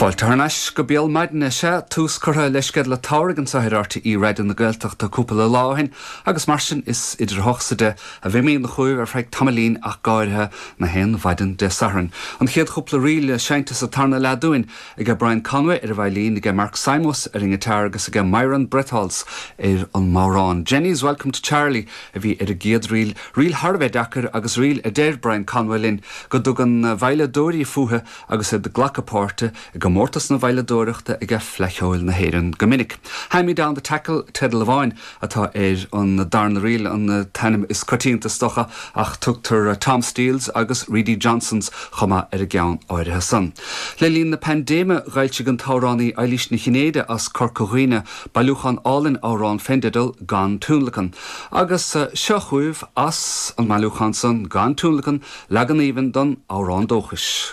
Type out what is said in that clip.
Fáilte thar n-ais go Béal Maidine. Sea, tús curtha le sceideal an tsamhraidh anseo ar RTÉ Raidió na Gaeltachta cúpla lá ó shin agus mar sin is idir a hocht 's a deich a bheimidne chugaibh ar feadh tamaillín ach go háirithe na haon mhaidin Dé Sathairn. An chéad chúpla ríl seinnte sa tarna leath dúinn aige Brian Conway ar an veidhlín, aige Mark Simos ar an ngiotár agus aige Myron Bretholz ar an mbodhrán. Jenny's Welcome to Charlie a bhí ar an gcéad ríl, ríl thar a bheith deacair agus ríl a deir Brian Conway linn go dtugann veidhleadóirí fúithi agus iad ag glacadh páirte i gcomórtas na veidhleadóireachta aige Fleadh Cheoil na hÉireann go minic. Hand Me Down the Tackle teideal amháin atá ar an darna ríl, an t-ainm is coitianta is dócha, ach tugtar Tom Steels agus Reedy Johnsons chomh maith ar an gceann áirithe san. Le linn na paindéime dh'fhoilsigh an t-amhránaí Eilís Ní Chinnéide as Corca Dhuibhne bailiúchán álainn amhrán fén dteideal Gan Tionlacan. Agus seo chugaibh as an mbailiúchán san, Gan Tionlacan, leagan aoibhinn don amhrán dóchais.